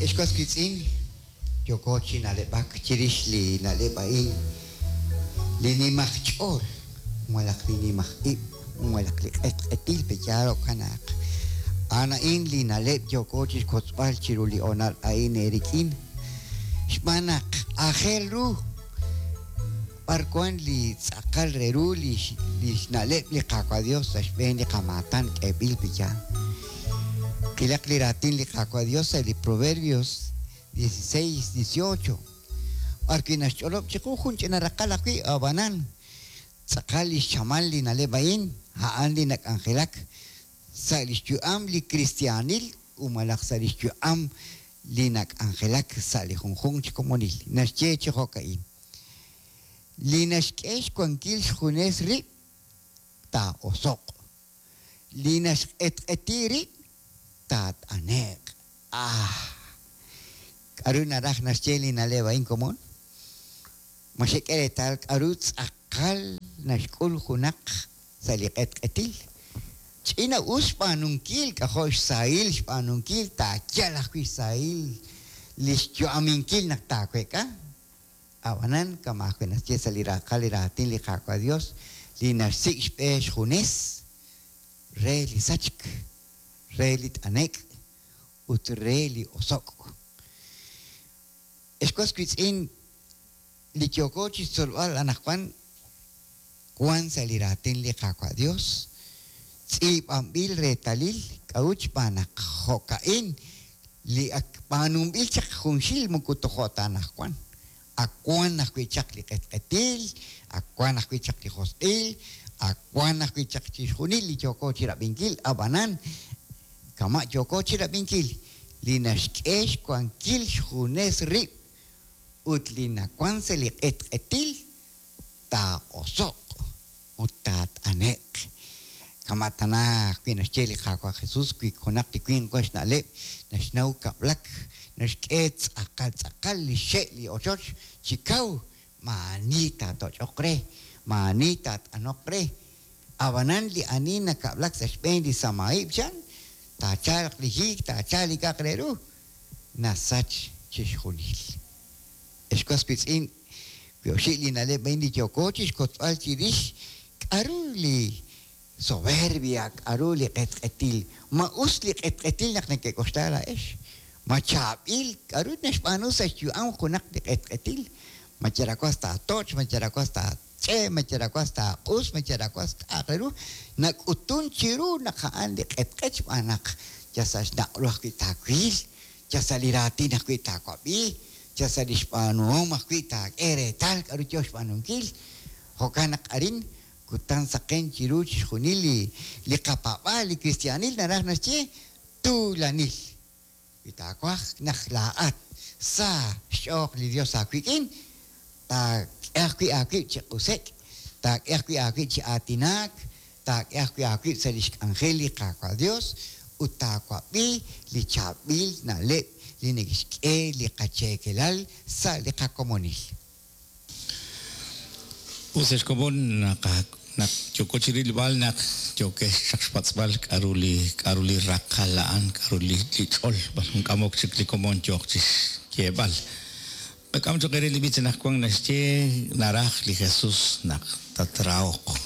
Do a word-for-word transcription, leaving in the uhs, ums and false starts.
Ex was wiitz'in, yooko chi na'leb'ak chirix li na'leb' a'in, li nimaj ch'ool, malaj li nimaj ib', malaj li q'etq'etil peyaal jo'kan naq a'an a'in li na'leb' yooko chixkotzb'al chiru li honal a'in eerik'in. Xb'aan naq aajel ru b'ar wan li tz'aqal re ru li li xna'leb' li Qaawa' Dios sa' xb'een li qamaatan k'eeb'il peyaal. Qilaq li raatin li Qaawa' Dios sa' li Proverbios dieciséis, dieciocho. B'ar wi' naxch'olob' chiqu jun ch'ina raqal ajwi' ab'anan tz'aqal li xchamal li na'leb' a'in a'an li nak'anjelak sa' li xyu'am li kristiaanil u malaj sa' li xyu'am li nak'anjelak sa' li junjunq chi komonil. Naxye chi jo'ka'in. Li naxk'e xwankil xjunes rib' taa'osoq. Li naxq'etq'eti rib' taat'ane'q. Ah! K'aru naraj naxye li na'leb' a'in komon? Ma xek'e reetal k'aru tz'aqal naxk'ul junaq sa' li q'etq'etil. Ch'ina us xb'aanunkil, k'ajo' xsahil xb'aanunkil, taayal ajwi' xsahil li xyu'aminkil naq taawek'a. Ab'anan, kama ajwi' naxye sa' li raqal li raatin li Qaawa' Dios, li naxsik' xb'e xjunes re li sachk, re li t'anek' ut re li osok'. Ex was wiitz'in, li yooko chixtzolb'al anaqwan wan sa' li raatin li Qaawa' Dios, tz'iib'anb'il reetalil k'a'ut xb'aan naq jo'ka'in li ak b'aanunb'il chaq junxil moko tojo' ta anaqwan. Ak wan ajwi' chaq li q'etq'etil, ak wan ajwi' chaq li josq'il, ak wan ajwi' chaq chixjunil li yooko chirab'inkil, ab'anan kama' yooko chirab'inkil li naxk'e xwankil xjunes rib' ut li nawan sa' li q'etq'etil taa'oso'q ut taat'ane'q. Kama' tana ajwi' naxye li Qaawa' Jesus wi junaq li winq wan xna'leb' naxnaw kab'lak, naxk'e tz'aqal tz'aqal li xe' li ochoch chi kaw maani taatoch'oq re, maani taat'anoq re. Ab'anan li ani nakab'lak sa' xb'een li samaib' chan, taachalq li hiik, taachalq li k'aq re ru, nasach chixjunil. Ex was wiitz'in, wi oxi' li na'leb' a'in li yooko chixkotzb'al chirix k'aru li soberbia, k'aru li q'etq'etil. Ma us li q'etq'etil naq neke'k'oxla laa'ex. Ma chaab'il k'aru naxb'aanu sa' xyu'am junaq li q'etq'etil. Ma cherawas taatoch', ma cherawas taach'e, ma cherawas taaq'us, ma cherawas k'aq re ru. Nak'utun chiru naq a'an li q'etq'et xb'aan naq ya sa' xnaq'ru ajwi' taawil, ya sa' li raatin ajwi' taawab'i, ya sa' li xb'aanuhom ajwi' taak'e reetal k'aru yo xb'aanunkil. Jo'kan naq arin kutan saqen chiru chixjunil li li qapaab'aal li kristiaanil naraj naxye tuulanil. Wi taawaj naq laa'at sa xch'oq li Dios aawik'in, taak'e ajwi' aawib' chi q'usek', taak'e ajwi' aawib' chi aatinaak, taak'e ajwi' aawib' sa' li xk'anjel li Qaawa' Dios ut taawab'i li chaab'il na'leb' li neke'xk'e li qacheekelal sa' li qakomonil. Us ex komon naq naq yooko chirilb'al naq yookex chaq xpatz'b'al k'aru li k'aru li raqal a'an, k'aru li li ch'ol, b'ar jun k'amok chik li komon yooq chixyeeb'al. Qak'am choq' re li b'ich anaqwan naxye naraj li Jesus naq tatrahoq.